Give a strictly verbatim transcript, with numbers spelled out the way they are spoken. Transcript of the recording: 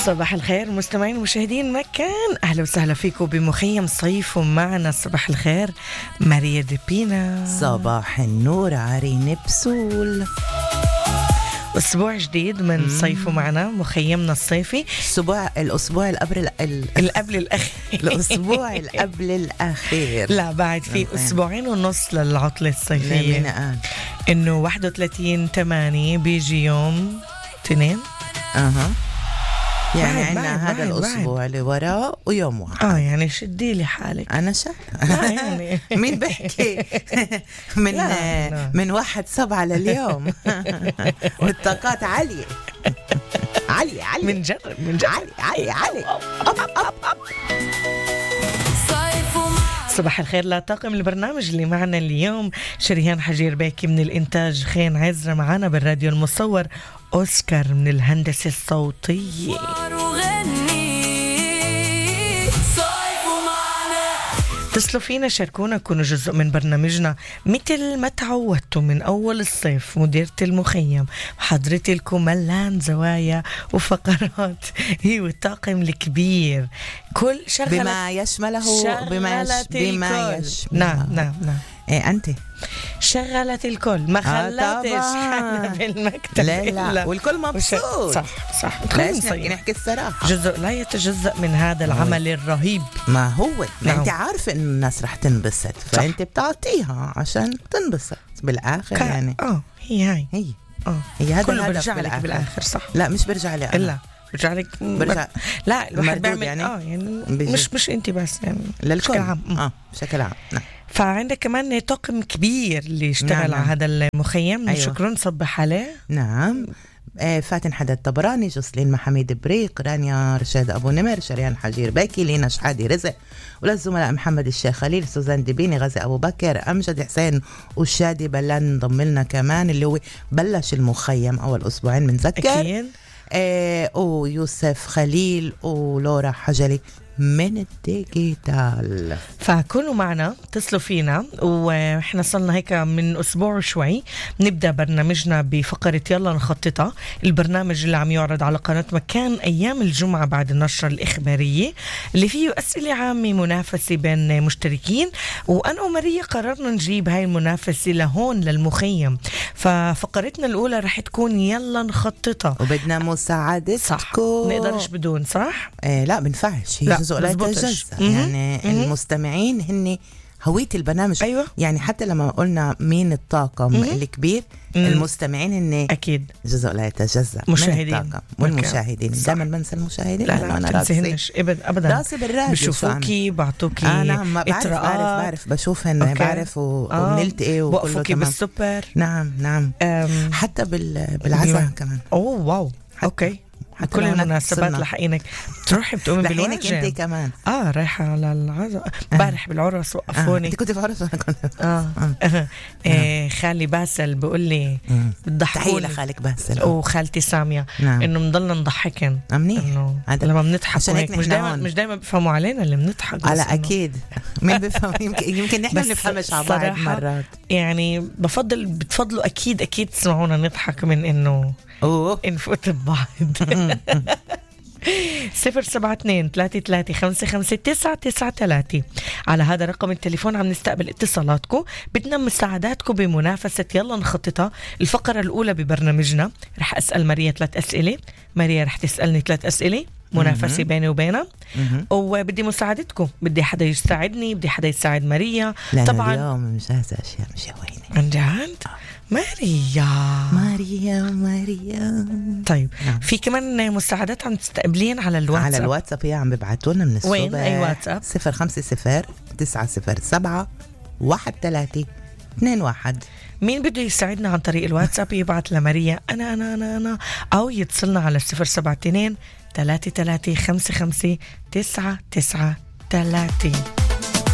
صباح الخير مستمعين ومشاهدين مكان، أهلا وسهلا فيكم بمخيم صيف ومعنا صباح الخير ماريا ديبينا. صباح النور عرين بسول. أسبوع جديد من صيف معنا مخيمنا الصيفي. الأسبوع الأسبوع القبل ال... القبل الأخير الأسبوع القبل الأخير. لا بعد في أسبوعين ونص للعطلة الصيفية. مين قال؟ إنه واحد وثلاثين ثمانية بيجي يوم اثنين. أها يعني بعد عنا بعد هذا بعد الأسبوع بعد. اللي وراه ويوم واحد. آه يعني شدي لي حالك. أنا شا يعني مين بحكي من لا لا. من واحد سبعة لليوم والطاقات عالية عالية عالية من جرب من جرب عالية عالية عالية. أب أب أب. صباح الخير لطاقم البرنامج اللي معنا اليوم. شريهان حجير باكي من الإنتاج، خين عزرة معنا بالراديو المصور، أوسكار من الهندسة الصوتية. اتصلوا فينا، شاركونا، كونوا جزء من برنامجنا مثل ما تعودتوا من أول الصيف. مديرة المخيم حضرتي لكم ملان زوايا وفقرات هي والطاقم الكبير كل شغلة بما يشمله بما يش... بما يشمله. نعم نعم نعم. إيه أنت شغلت الكل، ما خلتش آه حدا بالمكتب. لا لا والكل مبسوط. صح صح. ليش نحكي الصراحة؟ جزء لا يتجزأ من هذا العمل الرهيب. ما هو ما نعم. أنت عارفة إن الناس رح تنبسط، فأنت بتعطيها عشان تنبسط بالآخر. كا. يعني اه هي هاي هي اه هي هذا كله الهدف برجع لك بالآخر. صح. لا مش برجع لي أنا. إلا برجع لك برجع لا الواحد بيعمل يعني. اه يعني بيجي. مش مش انت بس يعني للكل بشكل عام. اه بشكل عام. نعم. فعندك كمان طاقم كبير اللي اشتغل نعم. على هذا المخيم. أيوة. شكرا نصبح عليه. نعم. آه فاتن حداد طبراني، جسلين محمد بريق، رانيا رشاد أبو نمر، شريان حجير باكي، لينا شحادي رزق، وللزملاء محمد الشيخ خليل، سوزان دبيني، غازي أبو بكر، أمجد حسين والشادي بلان انضم لنا كمان اللي هو بلش المخيم أول أسبوعين بنذكر. أكيد. آه ويوسف خليل ولورا حجلي من الديجيتال. فكونوا معنا، اتصلوا فينا، واحنا صلنا هيك من اسبوع شوي نبدا برنامجنا بفقره يلا نخططها، البرنامج اللي عم يعرض على قناه مكان ايام الجمعه بعد النشره الاخباريه اللي فيه اسئله عامه منافسه بين مشتركين. وانا وماريا قررنا نجيب هاي المنافسه لهون للمخيم. ففقرتنا الاولى رح تكون يلا نخططها، وبدنا مساعدتكم. صح. نقدرش بدون صح؟ آه لا بنفعش، هي جزء لا يتجزأ. يعني مم. المستمعين هن هوية البرنامج. أيوة. يعني حتى لما قلنا مين الطاقم مم. الكبير، مم. المستمعين هن أكيد جزء لا يتجزأ مشاهدين من الطاقم والمشاهدين. دائما بنسى المشاهدين. لا لا ما تنسيهنش أبدا. راسي بالراديو بشوفوكي بعطوكي آه نعم بعرف بعرف بعرف بشوفهن بعرف و... آه. وبنلتقي وكله تمام. بالسوبر. نعم نعم. أم... حتى بال... بالعزاء كمان. أوه واو حتى. أوكي. كل المناسبات لحقينك تروحي بتقومي بالواجب. انت كمان اه رايحه على العزاء امبارح بالعرس وقفوني. انت كنت في عرس وانا كنت اه, آه. آه. خالي باسل بقول لي بتضحكوني. تحيه لخالك باسل وخالتي ساميه. نعم. انه بنضلنا نضحكن انه لما بنضحك مش دائما مش دائما بيفهموا علينا اللي بنضحك. على اكيد مين بيفهم. يمكن يمكن نحن بنفهمش على بعض مرات. يعني بفضل بتفضلوا اكيد اكيد تسمعونا نضحك من انه اوه نفوت ببعض. صفر سبعة اثنين ثلاثة ثلاثة خمسة خمسة تسعة تسعة ثلاثة. على هذا رقم التليفون عم نستقبل اتصالاتكم. بدنا مساعداتكم بمنافسة يلا نخططها. الفقرة الأولى ببرنامجنا رح أسأل ماريا ثلاث أسئلة، ماريا رح تسألني ثلاث أسئلة، منافسة بيني وبينها، وبدي مساعدتكم. بدي حدا يساعدني، بدي حدا يساعد ماريا. طبعا اليوم مش هذا أشياء مش هوينة عن جد. ماريا ماريا ماريا طيب نعم. في كمان مساعدات عم تستقبلين على الواتساب. على الواتساب هي عم ببعتوا لنا من الصبح. وين أي واتساب؟ صفر خمسة صفر تسعة صفر سبعة واحد ثلاثة اثنين واحد. مين بده يساعدنا عن طريق الواتساب يبعت لماريا أنا أنا أنا أنا أو يتصلنا على صفر سبعة اثنين ثلاثة ثلاثة خمسة خمسة تسعة تسعة ثلاثة.